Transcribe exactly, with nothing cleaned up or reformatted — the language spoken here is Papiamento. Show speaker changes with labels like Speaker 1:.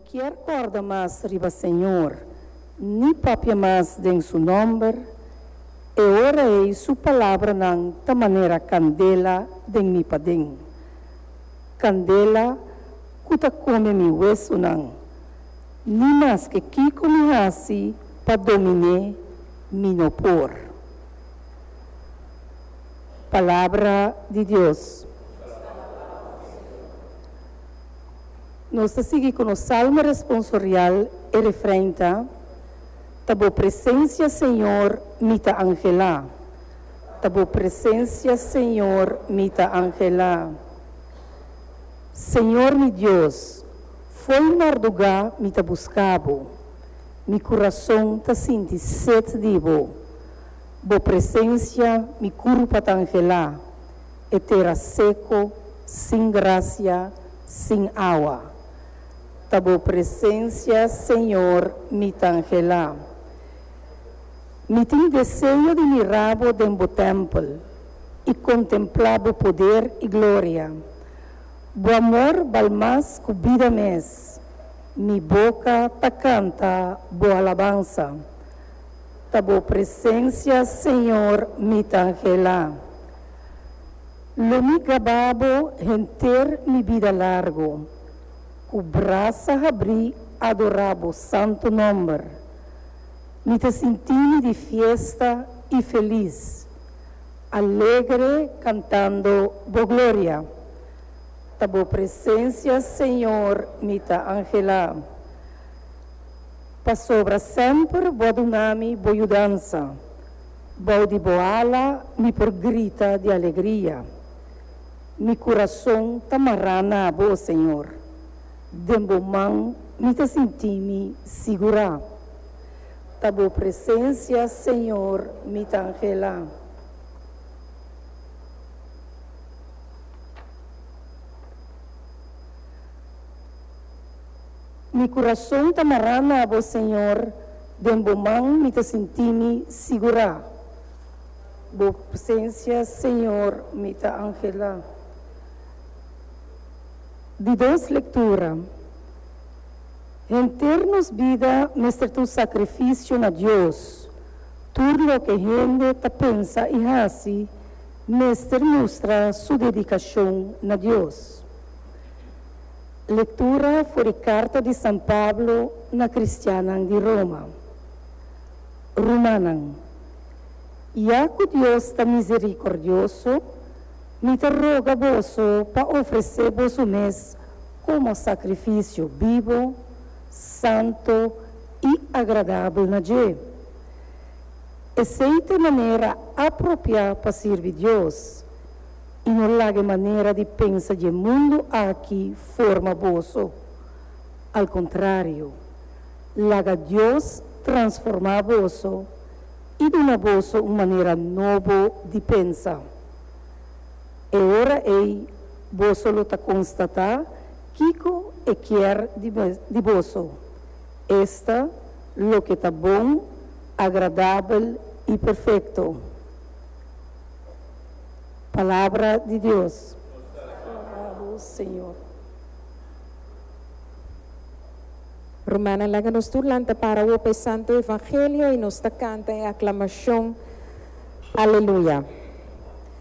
Speaker 1: Kier kòrda mas riba Señor, ni papia mas den su nòmber, e ora ei su palabranan ta manera kandela den mi paden. Kandela ku ta kome mi wesunan. Ni maske kiko mi hasi pa domin'é, mi no por. Palabra di Dios. Nos ta sigui ku nos salmo responsorial, e refrein ta, Ta bo presensia, Señor, mi ta anhelá. Ta bo presensia, Señor, mi ta anhelá. Señor mi Dios, fo'i mardugá mi ta buska bo. Mi kurason ta sinti set di bo. Bo presensia mi kurpa ta anhelá, e tera seko, sin grasia, sin awa. Ta bo presensia, Señor, mi ta anhelá. Mi tin deseo di mira bo den bo tèmpel i kontemplá bo poder i gloria. Bo amor bal mas ku bida mes, mi boka ta kanta bo alabansa. Ta bo presensia, Señor, mi ta anhelá. Lo mi gaba bo henter mi bida largu, ku brasa habrí adorá bo santu nòmber. Mi ta sinti mi di fiesta i felis, alegre kantando bo gloria. Ta bo presensia, Señor, mi ta anhelá. Pasobra semper bo a duna mi bo yudansa, bou di bo ala mi por grita di alegria. Mi kurason ta mará na bo, Señor, den bo man mi ta sinti mi sigurá. Ta bo presensia, Señor, mi ta anhelá. Mi kurason ta mará na bo, Señor, den bo man mi ta sinti mi sigurá. Bo presensia, Señor, mi ta anhelá. Di dos lektura. Henter nos bida mester ta un sakrifisio na Dios. Tur loke hende ta pensa i hasi mester mustra su dedikashon na Dios. Lektura for di karta di San Pablo na kristiannan di Roma. Rumannan, ya ku Dios ta miserikordioso, mi ta roga boso pa ofresé boso mes komo sakrifisio bibo, santu i agradabel na dje. Esei ta e manera apropiá pa sirbi Dios. I no laga e manera di pensa dje mundu aki forma boso. Al kontrario, laga Dios transformá boso i duna boso un manera nobo di pensa. E ora ei boso lo ta konstatá kiko e kier di boso, esta, loke ta bon, agradabel i perfekto. Palabra di Dios. Nos ta alabá bo, Señor.
Speaker 2: Rumannan, laga nos tur lanta para awor pa e Santo Evangelio i nos ta kanta e aklamashon, Aleluya.